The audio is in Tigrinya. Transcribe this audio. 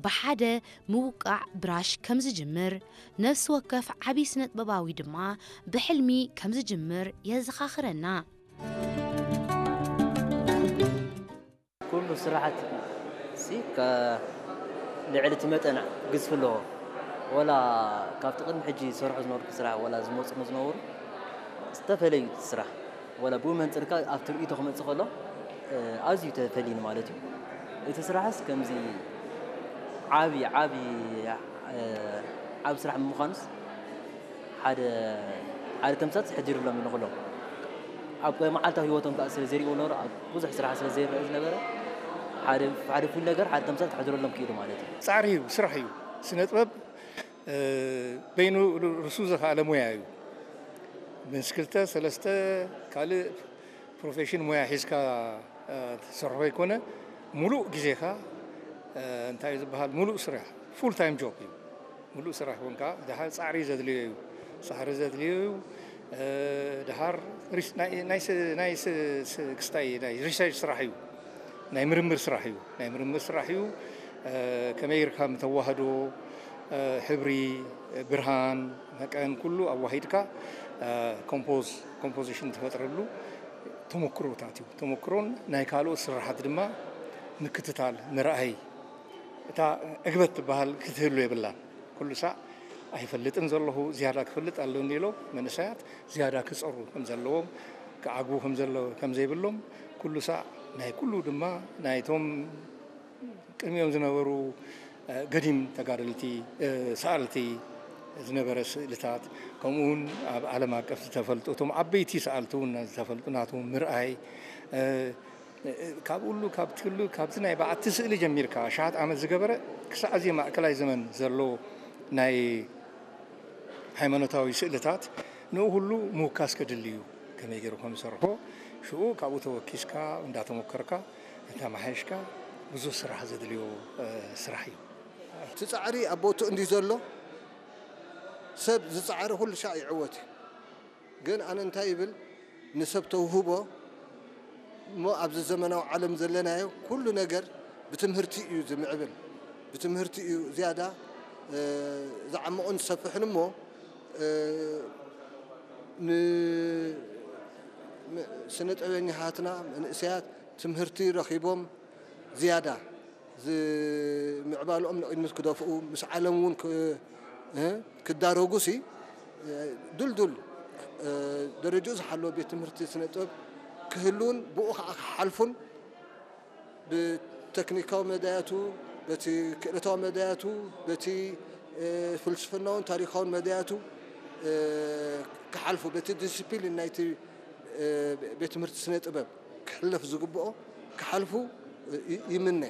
ብሓደ ምውቃዕ ብራሽ ከም ዝጅምር፣ ነፍሲ ወከፍ ዓቢ ስነጥበባዊ ድማ ብሕልሚ ከም ዝጅምር የዘኻኽረና። ኩሉ ስራሓት ሲ ከ ልዕሊ እቲ መጠን ግዝፊ ኣለዎ። ወላ ካብቲ ቅድሚ ሕጂ ዝሰርሖ ዝነበርኩ ስራሕ ወላ ዝመፁ ዝነበሩ ዝተፈለዩ እቲ ስራሕ ወላ ብኡ መንፅርካ ኣብቲ ርእይቶ ክመፅእ ከሎ ኣዝዩ ተፈልዩኒ ማለት እዩ። እቲ ስራሕስ ከምዚ ዓቢ ዓቢ ዓቢ ስራሕ ብምዃኑስ ሓደ ሓደ ተምሳት ሕድር ሎም ንኽሎም ኣብ መዓልታዊ ህይወቶም ከዓ ስለ ዘሪእዎ ነበሩ ኣብ ብዙሕ ስራሕ ስለ ዘይረአ ዝነበረ ሓደ ሓደ ፍሉይ ነገር ሓደ ተምሳት ክሕድረሎም ክኢሉ ማለት እዩ። ፃዕሪ እዩ፣ ስራሕ እዩ። ስነ ጥበብ በይኑ ርሱ ዘኸኣለ ሙያ እዩ። ምስ ክልተ ሰለስተ ካልእ ፕሮፌሽን ሙያ ሒዝካ ትሰርሖ ኣይኮነ፣ ሙሉእ ግዜኻ እንታይ እዩ ዝበሃል ሙሉእ ስራሕ ፉል ታይም ጆብ እዩ። ሙሉእ ስራሕ እውን ከዓ ድሓር ፃዕሪ ዘድልዮ እዩ። ፃዕሪ ዘድልዮ እዩ። ድሓር ናይ ሪሰርች ስራሕ እዩ። ናይ ምርምር ስራሕ እዩ። ናይ ምርምር ስራሕ እዩ። ከመይ ጌርካ ምተዋህዶ ሕብሪ፣ ብርሃን፣ መጠን ኩሉ ኣዋሂድካ ኮምፖዝ ኮምፖዚሽን ትፈጥረሉ ተመክሮታት እዩ። ተመክሮን ናይ ካልኦት ስራሓት ድማ ምክትታል ምርኣይ እታ ዕግበት ትበሃል ክትህሉ የብላን። ኩሉ ሳዕ ኣይፈልጥን ዘለኹ ዝያዳ ክፈልጥ ኣለኒ ኢሎም መንእሰያት ዝያዳ ክፀሩ ከም ዘለዎም ክዓግቡ ከም ዘይብሎም ኩሉ ሳዕ ናይ ኩሉ ድማ ናይቶም ቅድሚኦም ዝነበሩ ገዲም ተጋደልቲ ሰኣልቲ ዝነበረ ስእልታት ከምኡ እውን ኣብ ዓለም ኣቀፍ ዝተፈልጡ እቶም ዓበይቲ ሰኣልቲ እውን ዝተፈልጡ ናቶም ምርኣይ ካብ ኩሉ ካብቲ ኩሉ ካብቲ ናይ በዓቲ ስእሊ ጀሚርካ ኣሽሓት ዓመት ዝገበረ ክሳዕ እዚ ማእከላይ ዘመን ዘሎ ናይ ሃይማኖታዊ ስእልታት ንኡ ኩሉ ምውካስ ከድሊ እዩ። ከመይ ገይሩ ከም ዝሰርሖ ሽኡ ካብኡ ተወኪስካ እንዳተሞከርካ እንዳማሓየሽካ ብዙሕ ስራሕ ዘድልዮ ስራሕ እዩ። እቲ ፃዕሪ ኣብ ቦትኡ እንዲ ዘሎ ሰብ ዝፃዕረ ኩሉ ሻዕ ይዕወት እዩ። ግን ኣነ እንታይ ይብል ንሰብ ተውህቦ እሞ ኣብዚ ዘመናዊ ዓለም ዘለናዮ ኩሉ ነገር ብትምህርቲ እዩ ዝምዕብል። ብትምህርቲ እዩ ዝያዳ ዝዓምቕን ዝሰፍሕን እሞ ስነ ጥበበኛታትና መንእሰያት ትምህርቲ ረኺቦም ዝያዳ ምዕባልኦም ንቕድሚት ክደፍኡ ምስ ዓለም እውን ክዳረጉ ሲ ድልዱል ደረጅኡ ዝሓለወ ቤት ትምህርቲ ስነ ጥበብ ክህልውን ብኡ ከዓ ክሓልፉን ብተክኒካዊ መዳያቱ በቲ ክእለታዊ መዳያቱ በቲ ፍልስፍናውን ታሪካውን መዳያቱ ክሓልፉ በቲ ዲስፕሊን ናይቲ ቤት ትምህርቲ ስነ ጥበብ ክሕለፍ ዝግብኦ ክሓልፉ ይምነ።